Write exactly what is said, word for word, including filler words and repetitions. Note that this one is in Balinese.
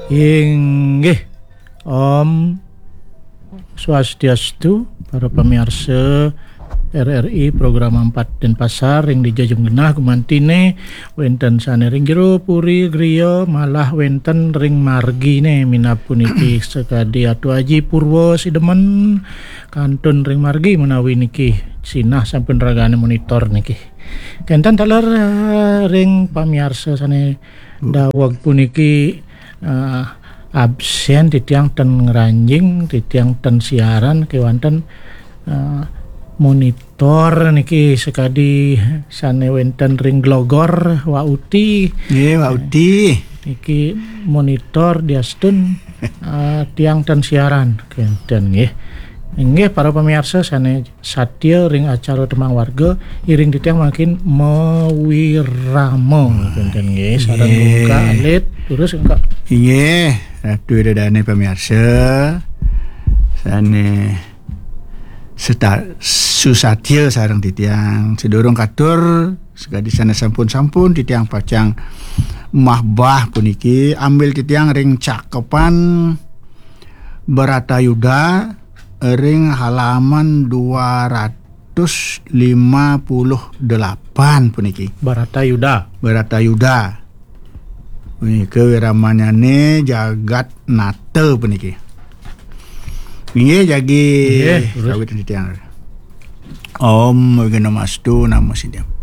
Inggih. Om Swastiastu, para pamiarsa R R I program empat Denpasar ring dija genah gumantiné, wénten sané ring jero puri griya, malah wénten ring marginé minab puniki sakadi Atu Aji Purwa Sidemen kantun ring margi menawi niki sinah sampun ragané monitor niki. Kénten taler, eh, ring pamiarsa sané daweg puniki, eh, absén titiang ten ngranjing, titiang ten siaran kéwanten, eh, monitor niki sakadi sané wénten ring Glogor, Wa Uti. Nggih, Wa Uti. Niki monitor diastun, eh, tiang ten siaran kénten nggih. Inggih para pamiarsa sané satia ring acara Tembang Warga, iring titiang mangkin mawirama kénten nggih. Sareng Nggih. Ungkak alit, terus Ungkak. Inggih, Ratu Ida Dané pamiarsa sané seta-, susatia sareng titiang. Sadurung katur, sakadi sané sampun-sampun titiang pacang mahbah puniki, ambil titiang ring Cakepan Bharatayuddha ring halaman dua ratus lima puluh delapan puniki. Bharatayuddha. Bharatayuddha. Punika wiramanyané Jagat Nata puniki. Inggih jagi. Inggih, terus. Sawit titiang. Om Awighnamastu Namo Siddham.